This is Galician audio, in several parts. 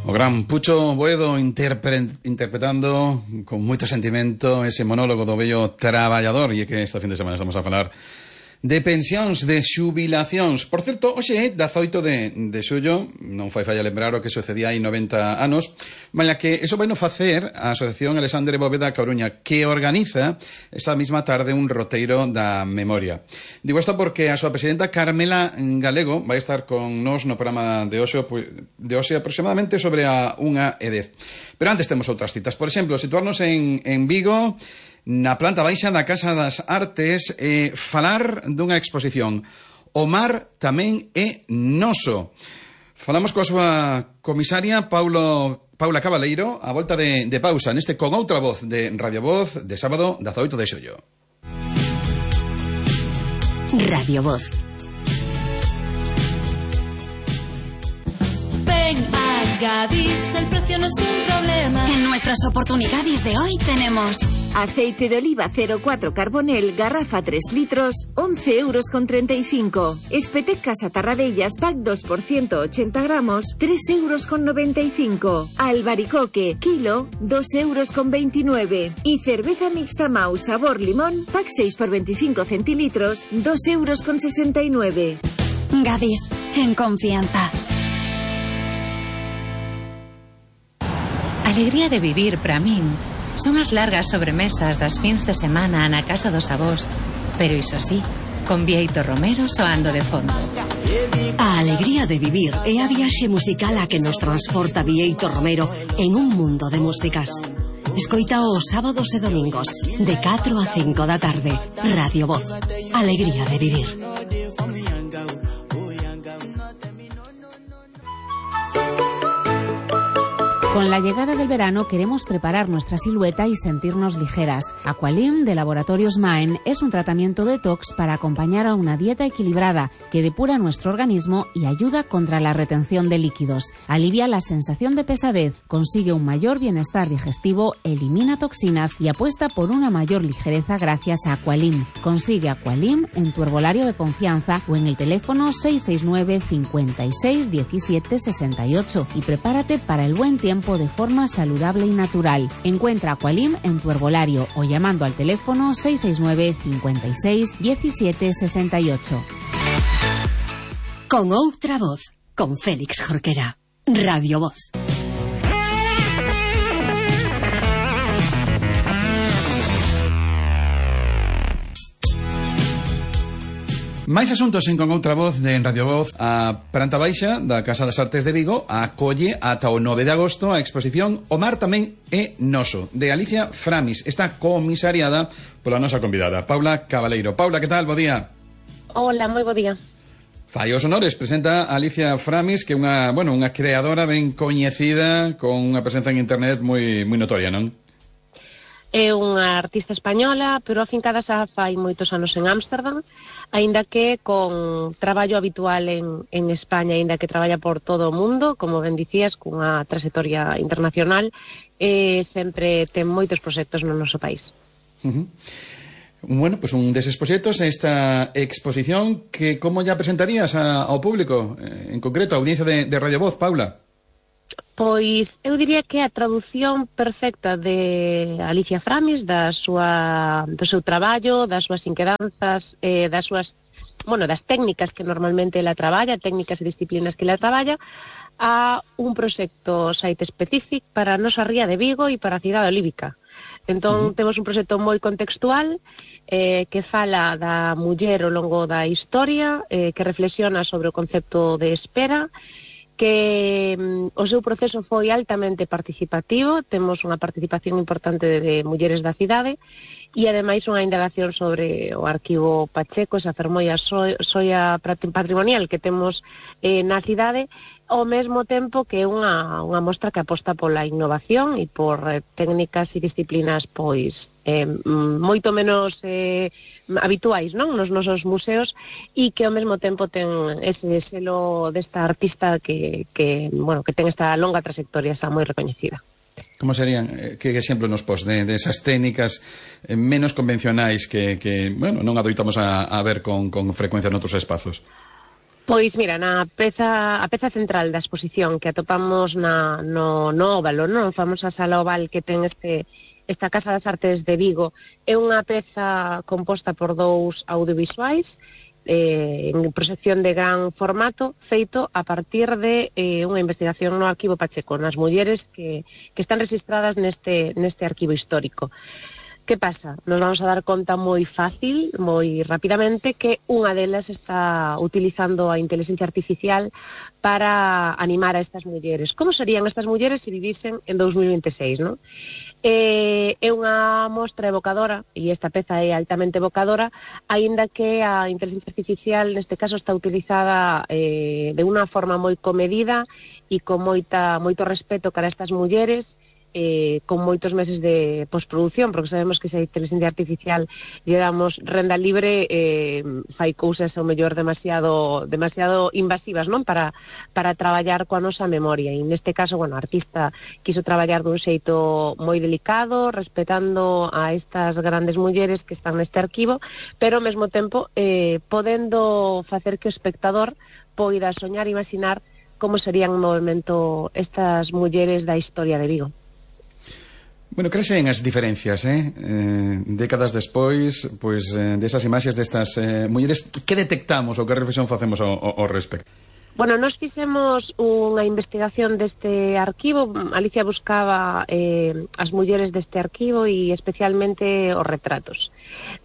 O gran Pucho Boedo interpretando con moito sentimento ese monólogo do bello traballador. E é que esta fin de semana estamos a falar de pensións, de xubilacións. Por certo, hoxe é 18 de xullo, non fai falla lembrar o que sucedía hai 90 anos, malia que eso vai no facer a Asociación Alexandre Bóveda Coruña, que organiza esta mesma tarde un roteiro da memoria. Digo isto porque a súa presidenta Carmela Galego vai estar con nós no programa de hoxe aproximadamente sobre a 1:10. Pero antes temos outras citas. Por exemplo, situarnos en Vigo, na planta baixa da Casa das Artes, falar dunha exposición. O mar tamén é noso. Falamos coa súa comisaria Paula Cabaleiro a volta de pausa neste Con Outra Voz de Radio Voz de sábado 18 de xullo. Radio Voz. Ven a Gadis, el precio no es un problema. En nuestras oportunidades de hoy tenemos aceite de oliva 04 Carbonel, garrafa 3 litros, 11,35 €. Espetec Casa Tarradellas, pack 2 por 180 gramos, 3,95 €. Albaricoque, kilo, 2,29 €. Y cerveza mixta Mau sabor limón, pack 6 por 25 centilitros, 2,69 €. Gadis, en confianza. Alegría de vivir para min son as largas sobremesas das fins de semana na casa dos avós, pero iso sí, con Bieito Romero soando de fondo. A alegría de vivir é a viaxe musical a que nos transporta Bieito Romero en un mundo de músicas. Escoita os sábados e domingos de 4 a 5 da tarde. Radio Voz. Alegría de vivir. Con la llegada del verano queremos preparar nuestra silueta y sentirnos ligeras. Aqualim de Laboratorios Maen es un tratamiento detox para acompañar a una dieta equilibrada que depura nuestro organismo y ayuda contra la retención de líquidos. Alivia la sensación de pesadez, consigue un mayor bienestar digestivo, elimina toxinas y apuesta por una mayor ligereza gracias a Aqualim. Consigue Aqualim en tu herbolario de confianza o en el teléfono 669 56 17 68 y prepárate para el buen tiempo de forma saludable y natural. Encuentra Aqualim en tu herbolario o llamando al teléfono 669 56 17 68. Con Outra Voz, con Félix Jorquera. Radio Voz. Máis asuntos en Con Outra Voz de Radio Voz. A planta baixa da Casa das Artes de Vigo acolle ata o 9 de agosto a exposición O mar tamén é noso, de Alicia Framis. Está comisariada pola nosa convidada, Paula Cabaleiro. Paula, que tal? Bo día. Hola, moi bo día. Fai os honores, presenta a Alicia Framis, que é unha creadora ben coñecida, con unha presenza en internet moi notoria, non? É unha artista española, pero afincada xa fai moitos anos en Ámsterdam, aínda que con traballo habitual en España, aínda que traballa por todo o mundo, como ben dicías, cunha trayectoria internacional, sempre ten moitos proxectos no noso país. Bueno, pues un deses proxectos é esta exposición que como ya presentarías ao público, en concreto a audiencia de Radio Voz, Paula? Pois eu diría que a traducción perfecta de Alicia Framis do seu traballo, das súas inquedanzas, das técnicas que normalmente ela traballa, técnicas e disciplinas que ela traballa, a un proxecto site específico para a nosa ría de Vigo e para a cidade olívica. Entón, temos un proxecto moi contextual que fala da muller ao longo da historia, que reflexiona sobre o concepto de espera, que o seu proceso foi altamente participativo, temos unha participación importante de mulleres da cidade e ademais unha indagación sobre o arquivo Pacheco, esa fermolla soia patrimonial que temos na cidade, ao mesmo tempo que é unha mostra que aposta pola innovación e por técnicas e disciplinas pois moito menos habituais, non, nos nosos museos, e que ao mesmo tempo ten ese selo desta artista que ten esta longa trayectoria, está moi recoñecida. Como serían, que exemplo nos pos de esas técnicas menos convencionais que non adoitamos a ver con frecuencia noutros espazos? Pois, mira, a peza central da exposición que atopamos no óvalo, non? Famosa sala oval que ten esta Casa das Artes de Vigo, é unha peza composta por 2 audiovisuais en proxección de gran formato, feito a partir de unha investigación no Arquivo Pacheco, nas mulleres que están registradas neste arquivo histórico. Que pasa? Nos vamos a dar conta moi fácil, moi rapidamente, que unha delas está utilizando a inteligencia artificial para animar a estas mulleres. Como serían estas mulleres se vivisen en 2026, non? É unha mostra evocadora, e esta peza é altamente evocadora, aínda que a inteligencia artificial neste caso está utilizada de unha forma moi comedida e con moito respeto cara a estas mulleres, con moitos meses de postproducción, porque sabemos que se a inteligencia artificial lle damos renda libre, fai cousas ao mellor demasiado invasivas, non? Para traballar coa nosa memoria, e neste caso, bueno, a artista quiso traballar dun xeito moi delicado, respetando a estas grandes mulleres que están neste arquivo, pero ao mesmo tempo podendo facer que o espectador poida soñar e imaginar como serían no movimento estas mulleres da historia de Vigo. Bueno, crecen as diferencias, décadas despois, pois, desas imaxes destas mulleres, que detectamos ou que reflexión facemos ao respecto? Bueno, nos fixemos unha investigación deste arquivo. Alicia buscaba as mulleres deste arquivo e especialmente os retratos.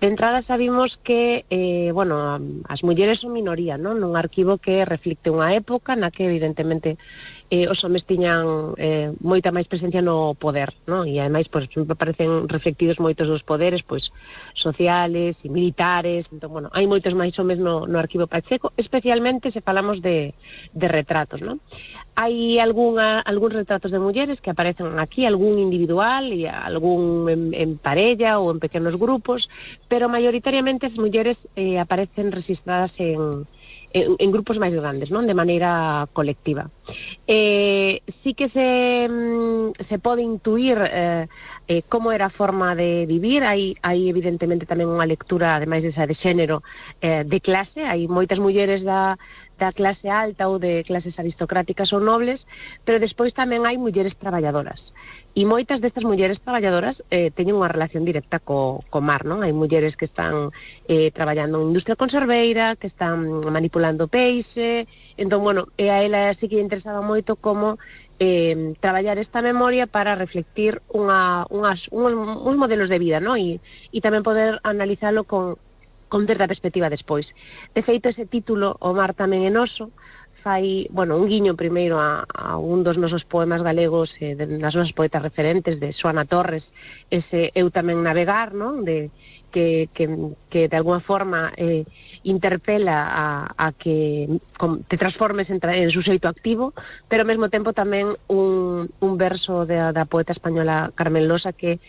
De entrada sabimos que, bueno, as mulleres son minoría, non? Nun arquivo que reflicte unha época na que evidentemente os homes tiñan moita máis presencia no poder, non? E ademais, pois, aparecen reflectidos moitos dos poderes, pois, sociales e militares. Entón, bueno, hai moitos máis homes no arquivo Pacheco, especialmente se falamos de retratos, non? Hai algúns retratos de mulleres que aparecen aquí, algún individual e algún en parella ou en pequenos grupos, pero maioritariamente as mulleres aparecen registradas en grupos máis grandes, non? De maneira colectiva. Sí que se pode intuir como era a forma de vivir. Hai evidentemente tamén unha lectura, ademais desa de xénero, de clase. Hai moitas mulleres da clase alta ou de clases aristocráticas ou nobles, pero despois tamén hai mulleres traballadoras. E moitas destas mulleres traballadoras teñen unha relación directa co mar, non? Hai mulleres que están traballando en industria conserveira, que están manipulando peixe. Entón, bueno, a ela sí que lle interesaba moito como traballar esta memoria para reflectir uns modelos de vida, non? E tamén poder analizalo con certa perspectiva despois. De feito, ese título, O mar tamén é noso, fai, bueno, un guiño primeiro a un dos nosos poemas galegos, das nosas poetas referentes, de Xoana Torres, ese Eu tamén navegar, non? Que de alguna forma interpela a que te transformes en suxeito activo, pero ao mesmo tempo tamén un verso da poeta española Carmen Losa que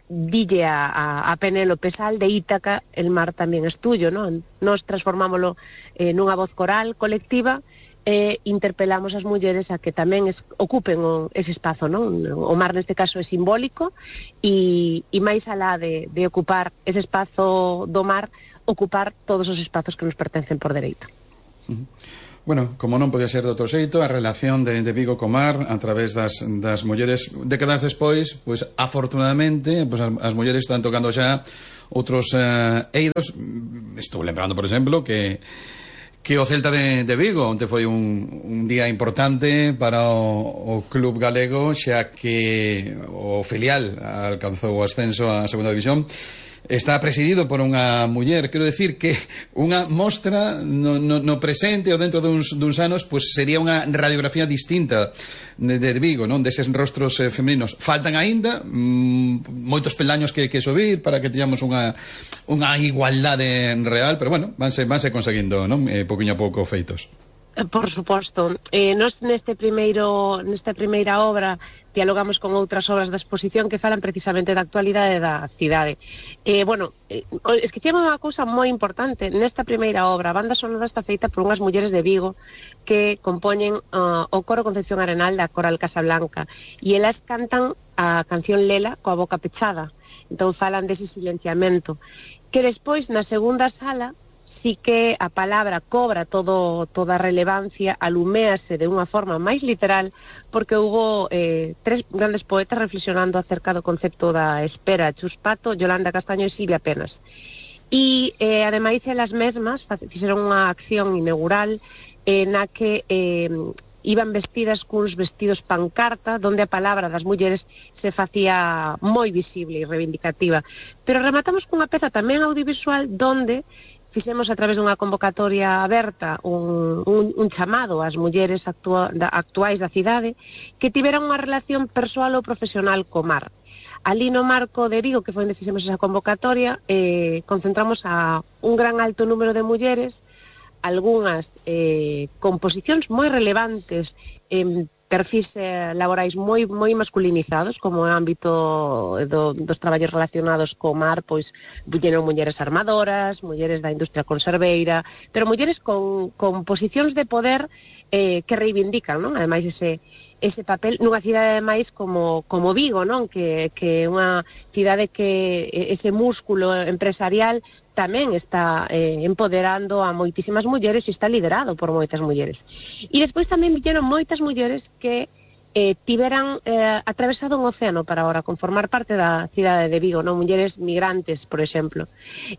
dille a Penélope Sal de Ítaca, el mar tamén es tuyo, non? Nos transformámoslo nunha voz coral colectiva e interpelamos as mulleres a que tamén ocupen ese espazo, non? O mar neste caso é simbólico e máis alá de ocupar ese espazo do mar, ocupar todos os espazos que nos pertencen por dereito. Bueno, como non podía ser de outro xeito, a relación de Vigo co mar a través das mulleres décadas despois, pois afortunadamente, pois as mulleres están tocando xa outros eidos. Estou lembrando, por exemplo, que o Celta de Vigo onte foi un día importante para o club galego, xa que o filial alcanzou o ascenso á segunda división. Está presidido por unha muller. Quero decir que unha mostra no presente ou dentro duns anos, pois sería unha radiografía distinta de Vigo, non? Deses rostros femininos. Faltan aínda moitos peldaños que subir para que teñamos unha igualdade real, pero bueno, vanse conseguindo, non? Pouquiño a pouco feitos. Por suposto. Nos nesta primeira obra dialogamos con outras obras da exposición que falan precisamente da actualidade da cidade. Bueno, esquecíamos unha cousa moi importante. Nesta primeira obra, a banda sonora está feita por unhas mulleres de Vigo que compoñen o coro Concepción Arenal da Coral Casablanca, e elas cantan a canción Lela coa boca pechada. Entón falan dese silenciamento, que despois na segunda sala sí que a palabra cobra toda a relevancia, aluméase de unha forma máis literal, porque hubo tres grandes poetas reflexionando acerca do concepto da espera: Chus Pato, Yolanda Castaño e Silvia Penas. E, ademais, elas mesmas fixeron unha acción inaugural na que iban vestidas cuns vestidos pancarta, donde a palabra das mulleres se facía moi visible e reivindicativa. Pero rematamos cunha peza tamén audiovisual donde fixemos a través dunha convocatoria aberta un chamado ás mulleres actuais da cidade que tiveran unha relación persoal ou profesional co mar. Ali no marco de Vigo, que foi onde fixemos esa convocatoria, concentramos a un gran alto número de mulleres, algunhas con posicións moi relevantes en perfis laborais moi masculinizados, como o ámbito dos traballos relacionados co mar, pois viñeron mulleres armadoras, mulleres da industria conserveira, pero mulleres con posicións de poder que reivindican, non? Ademais, ese papel nunha cidade máis como Vigo, non? Que é unha cidade que ese músculo empresarial tamén está empoderando a moitísimas mulleres e está liderado por moitas mulleres. E despois tamén viñeron moitas mulleres que tiveran atravesado un océano para ahora conformar parte da cidade de Vigo, non? Mulleres migrantes, por exemplo.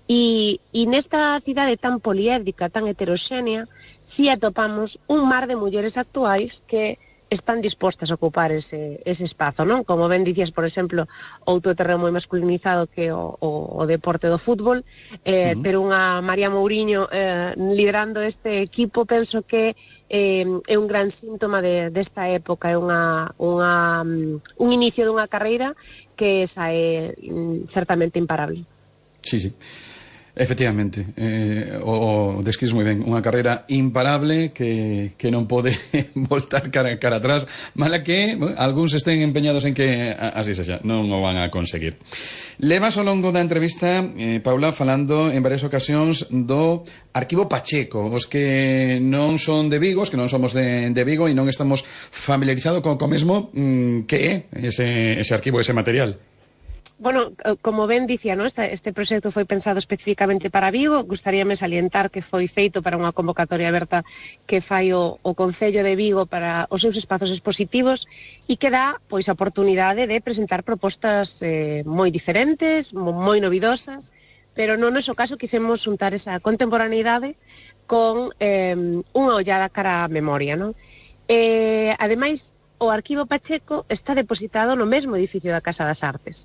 E nesta cidade tan poliédrica, tan heteroxénea, si atopamos un mar de mulleres actuais que están dispostas a ocupar ese espazo, non? Como ben dicías, por exemplo, outro terreno moi masculinizado que o deporte do fútbol, pero unha María Mouriño liderando este equipo, penso que é un gran síntoma desta época, é un inicio dunha carreira que sae certamente imparable. Sí. Efectivamente, o describes moi ben, unha carreira imparable que non pode voltar cara atrás, mala que algúns estén empeñados en que así sexa, non o van a conseguir. Levas ao longo da entrevista, Paula, falando en varias ocasións do Arquivo Pacheco, os que non son de Vigo, os que non somos de Vigo e non estamos familiarizados co mesmo, que é ese arquivo, ese material. Bueno, como ben dicía, ¿no? Este proxecto foi pensado especificamente para Vigo. Gustaríame salientar que foi feito para unha convocatoria aberta que fai o Concello de Vigo para os seus espazos expositivos e que dá pois a oportunidade de presentar propostas moi diferentes, moi novidosas, pero non no noso caso quixemos xuntar esa contemporaneidade con unha ollada cara á memoria, non? Ademais, o Arquivo Pacheco está depositado no mesmo edificio da Casa das Artes.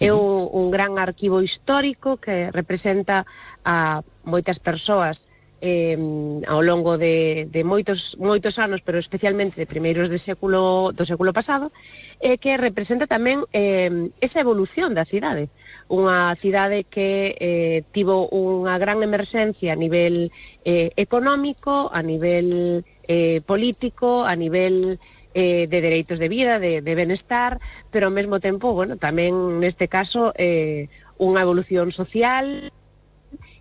É un gran arquivo histórico que representa a moitas persoas ao longo de moitos anos, pero especialmente de primeiros do século pasado, que representa tamén esa evolución da cidade. Unha cidade que tivo unha gran emerxencia a nivel económico, a nivel político, a nivel de dereitos de vida, de benestar, pero ao mesmo tempo, bueno, tamén neste caso unha evolución social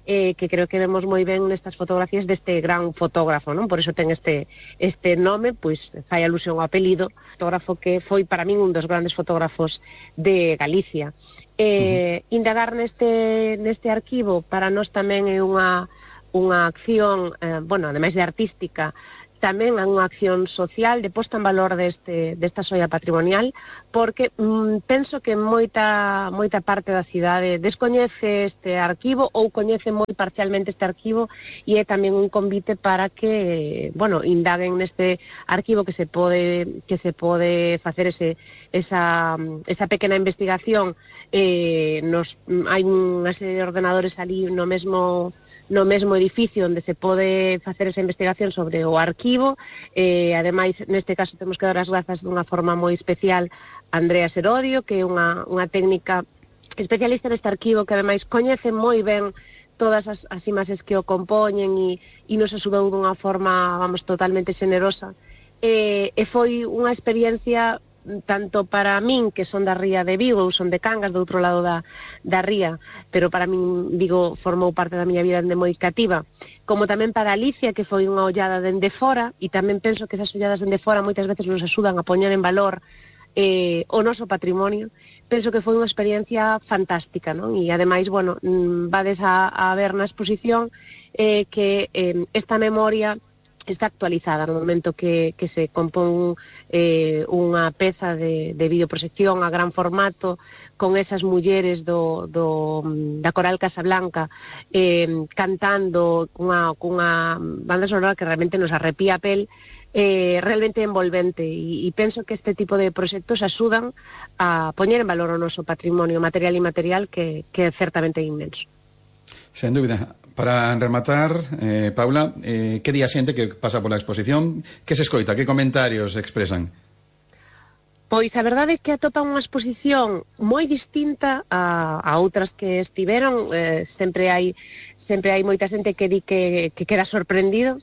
que creo que vemos moi ben nestas fotografías deste gran fotógrafo, non? Por iso ten este nome, pois fai alusión ao apelido, fotógrafo que foi para min un dos grandes fotógrafos de Galicia. Indagar neste arquivo para nós tamén é unha acción, bueno, ademais de artística, tamén é unha acción social de posta en valor desta xoia patrimonial, porque penso que moita parte da cidade descoñece este arquivo ou coñece moi parcialmente este arquivo, e é tamén un convite para que, bueno, indaguen neste arquivo que se pode facer esa pequena investigación. Hai unha serie de ordenadores ali no mesmo edificio onde se pode facer esa investigación sobre o arquivo. Ademais, neste caso temos que dar as grazas dunha forma moi especial a Andrea Serodio, que é unha técnica especialista neste arquivo, que ademais coñece moi ben todas as imaxes que o compoñen e nos axudou dunha forma, vamos, totalmente xenerosa. E foi unha experiencia tanto para min, que son da ría de Vigo, ou son de Cangas, do outro lado da ría, pero para min Vigo formou parte da miña vida dende moi cativa, como tamén para Alicia, que foi unha ollada dende fora, e tamén penso que esas olladas dende fora moitas veces nos axudan a poñer en valor o noso patrimonio, penso que foi unha experiencia fantástica, non? E ademais, bueno, vades a ver na exposición que esta memoria está actualizada no momento que se compón unha peza de videoproxección a gran formato con esas mulleres da Coral Casablanca cantando cunha banda sonora que realmente nos arrepía a pel, realmente envolvente, e penso que este tipo de proxectos axudan a poñer en valor o noso patrimonio material e inmaterial que é certamente inmenso. Sen dúbida. Para rematar, Paula, que día xente que pasa pola exposición? Que se escoita? Que comentarios expresan? Pois a verdade é que atopan unha exposición moi distinta a outras que estiveron. Sempre hai moita xente que di que queda sorprendido.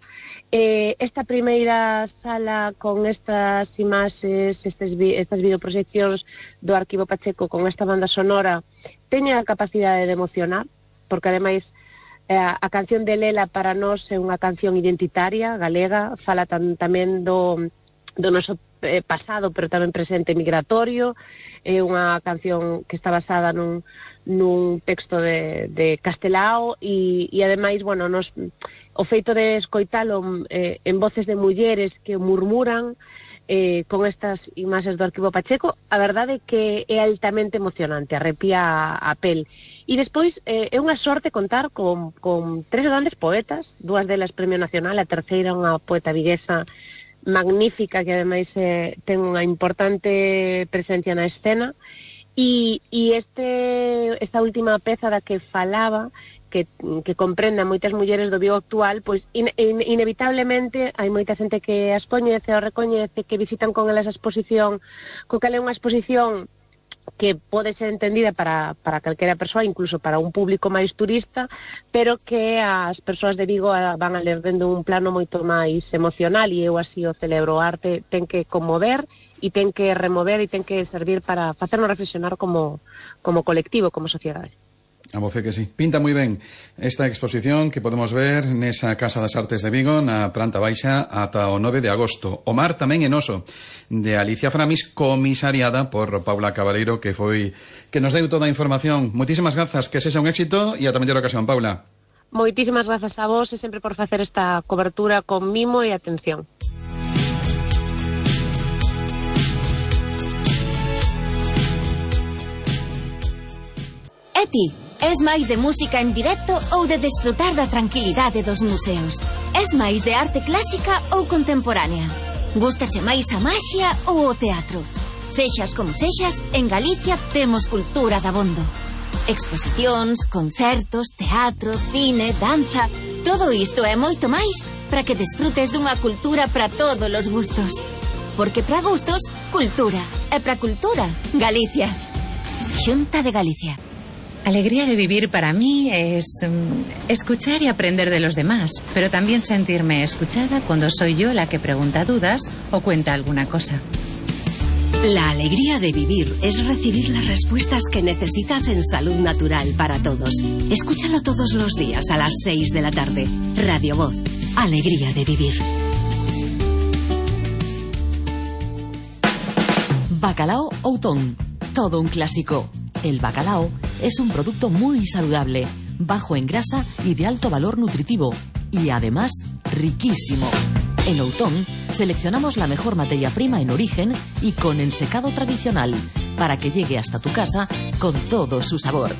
Esta primeira sala con estas imaxes, estas videoproxeccións do Arquivo Pacheco con esta banda sonora teña a capacidade de emocionar, porque ademais a canción de Lela para nós é unha canción identitaria, galega, fala tamén do noso pasado, pero tamén presente migratorio. É unha canción que está basada nun texto de Castelao e ademais, bueno, o feito de escoitalo en voces de mulleres que murmuran con estas imaxes do Arquivo Pacheco, a verdade é que é altamente emocionante, arrepía a pel. E despois é unha sorte contar con tres grandes poetas, dúas delas Premio Nacional, a terceira unha poeta viguesa magnífica que ademais ten unha importante presencia na escena, e esta última peza da que falaba, que comprenda moitas mulleres do Vigo actual, pois inevitablemente hai moita xente que as coñece ou recoñece, que visitan con elas a exposición, co cal é unha exposición que pode ser entendida para calquera persoa, incluso para un público máis turista, pero que as persoas de Vigo van a ler dende un plano moito máis emocional, e eu así o celebro. O arte ten que conmover e ten que remover e ten que servir para facernos reflexionar como colectivo, como sociedade. A voce que sí. Pinta moi ben esta exposición que podemos ver nesa Casa das Artes de Vigo, na planta baixa, ata o 9 de agosto. O mar tamén en oso, de Alicia Framis, comisariada por Paula Cabaleiro, que nos deu toda a información. Moitísimas grazas, que sexa un éxito e ata mellor ocasión, Paula. Moitísimas grazas a vos e sempre por facer esta cobertura con mimo e atención. E ti? Es máis de música en directo ou de desfrutar da tranquilidade dos museos? Es máis de arte clásica ou contemporánea? Gústache máis a maxia ou o teatro? Sexas como sexas, en Galicia temos cultura dabondo. Exposicións, concertos, teatro, cine, danza... Todo isto e moito máis para que desfrutes dunha cultura para todos os gustos. Porque para gustos, cultura. E para cultura, Galicia. Xunta de Galicia. Alegría de vivir para mí es escuchar y aprender de los demás, pero también sentirme escuchada cuando soy yo la que pregunta dudas o cuenta alguna cosa. La alegría de vivir es recibir las respuestas que necesitas en Salud Natural para Todos. Escúchalo todos los días a las 6 de la tarde. Radio Voz. Alegría de vivir. Bacalao Outón. Todo un clásico. El bacalao es un producto muy saludable, bajo en grasa y de alto valor nutritivo, y además riquísimo. En Outón seleccionamos la mejor materia prima en origen y con ensecado tradicional, para que llegue hasta tu casa con todo su sabor.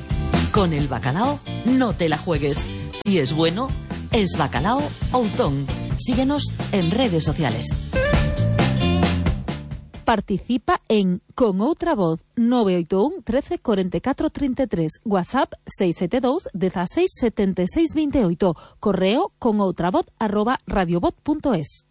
Con el bacalao no te la juegues. Si es bueno, es Bacalao Outón. Síguenos en redes sociales. Participa en Con Outra Voz 981 13 44 33, WhatsApp 672 16 76 28, correo conoutravoz@radiovoz.es.